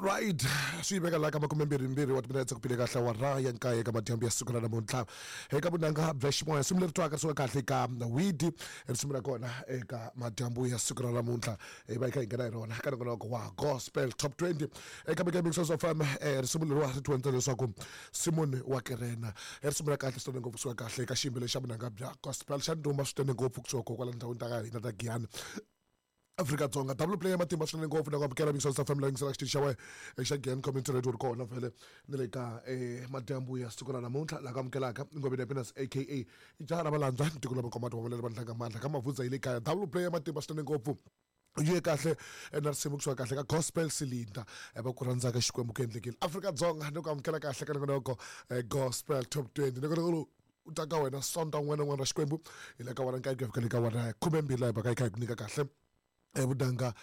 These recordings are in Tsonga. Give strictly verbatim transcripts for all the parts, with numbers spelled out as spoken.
Right, swi veka la ka makume mbirhi mbirhi wa timinetse ku pile kahle awara ya nkaye ka madyambu ya siku ra namuntlha eka vunanga bya ximoya. Risimu leri twaka risuka kahle ka widi, risimu ra kona eka madyambu ya siku ra namuntlha hi va hi kha hi nghena hi rona ka nongonoko wa Gospel Top twenty eka Mix of F M. Risimu leriwa ri tiwendza leswaku Simon wa Kirena, i risimu ra kahle swinene ngopfu kusuka kahle eka xiyimbeleri xa vunanga bya gospel xa ndhuma swinene ngopfu kusuka kwala ndhawini ta ka hina ta Giyani, Afrika-Dzonga. Double play ya matimba swinene ngopfu na ku amukela Mix of F M la yingisela xitichi xa wena xa Giyani Community Radio ri kona vhele ni le ka eh, madyambu ya siku ra namuntlha laha ku amukelaka Ngobeni Happiness A K A jaha ra valandza tiko la makomati wa valela vandlanga mandla ka mavhudza yi le kaya. Double play ya matimba swinene ngopfu yi ye kahle na risimu kusuka kahle ka Gospel Cylinder va ku rhandzaka Xikwembu ku endlekile Afrika-Dzonga ni ku amukela kahle ka nongonoko Gospel Top twenty. Nongonoko lowu u ta ka wena Sonta un'wana na un'wana ra Xikwembu hi le ka wena nkaye ku ya fika le ka wena khumembirhi laha hi va ka hi kha hi ku nyika kahle vunanga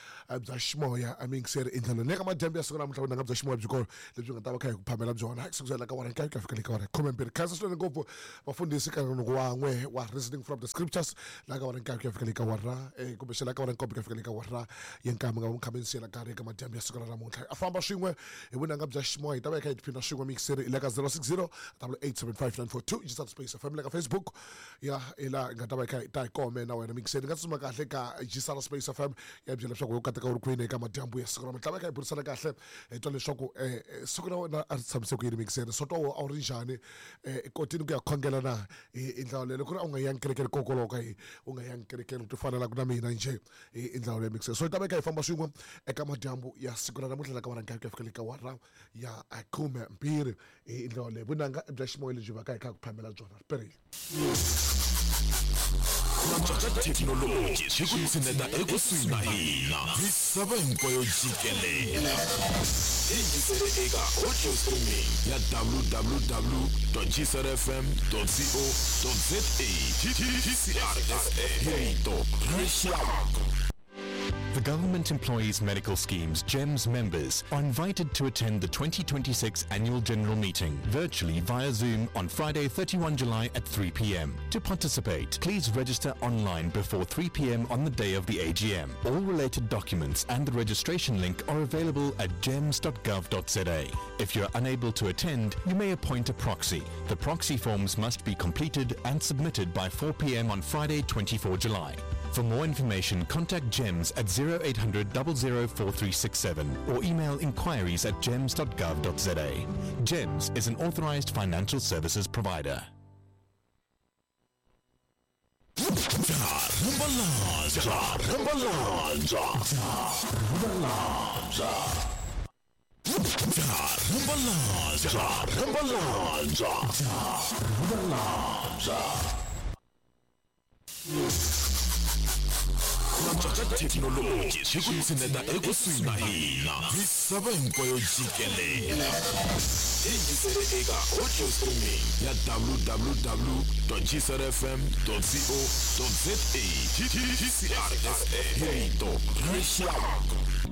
bya ximoya a miyingiseri i ndlela leyi ka madyambu ya siku namuntlha vunanga bya ximoya byi kona lebyi nga ta va kha hi ku phamela byona kusukela ka wena nkaye ku ya fika le ka wena khumembirhi. Khansa swinene ngopfu vafundhisi ka nongonoko wan'we wa Reasoning from the Scriptures laha ka wena nkaye ku ya fika le ka wena kumbexana ka wena nkombo ku ya fika le ka wena ya nkaye mi nga mi kha mi siyela karhi eka madyambu ya siku ra namuntlha a famba swin'we hi vunanga bya ximoya hi ta va hi kha hi tiphina swin'we miyingiseri hi le ka zero six zero double eight seven five nine four two Gisat Space F M le ka Facebook ya hi laha hi nga ta va hi kha hi ta hi kome na wena miyingiseri nga tsutsuma kahle ka Gisat Space F M ya byela leswaku u kateka u ri kwini eka madyambu ya siku ra namuntlha va kha hi burisana kahle hi twa leswaku siku ra wena a ri tshamise ku yini miyingiseri so twa a wu ri njhani kotini ku ya khongela na hi ndlela leyo ku ri a wu nga yangi kerekeni kokoloka ka hi u nga yangi kerekeni ti fanelaka na mina njhe hi ndlela leyo miyingiseri. So hi ta va hi kha hi famba swin'we eka madyambu ya siku ra namuntlha la ka wena nkarhi ku ya fika le ka wara ya khume mbirhi hi ndlela leyo vunanga bya ximoya lebyi va ka hi kha ku phamela byona ri perile. Thekinoloji swi ku tshineta ekusuhi na hina misava hinkwayo jikelele. Yingisele eka audio streaming ya w w w dot g c r f m dot co dot za. G C R F M, rito ra rixaka. The Government Employees Medical Scheme's GEMS members are invited to attend the twenty twenty-six Annual General Meeting virtually via Zoom on Friday, thirty-first July at three p m. To participate, please register online before three p m on the day of the A G M. All related documents and the registration link are available at gems dot gov dot za. If you're unable to attend, you may appoint a proxy. The proxy forms must be completed and submitted by four p m on Friday, twenty-fourth July. For more information, contact GEMS at zero eight hundred zero zero four three six seven or email inquiries at gems dot gov dot za. GEMS is an authorized financial services provider. Rambalanza, Rambalanza, Rambalanza, Rambalanza, Rambalanza, Rambalanza. Thekinoloji swi ku tshineta ekusuhi na hina misava hinkwayo jikelele. Yingisele eka audio streaming ya w w w dot g c r f m dot co dot za. G C R F M, rito ra rixaka.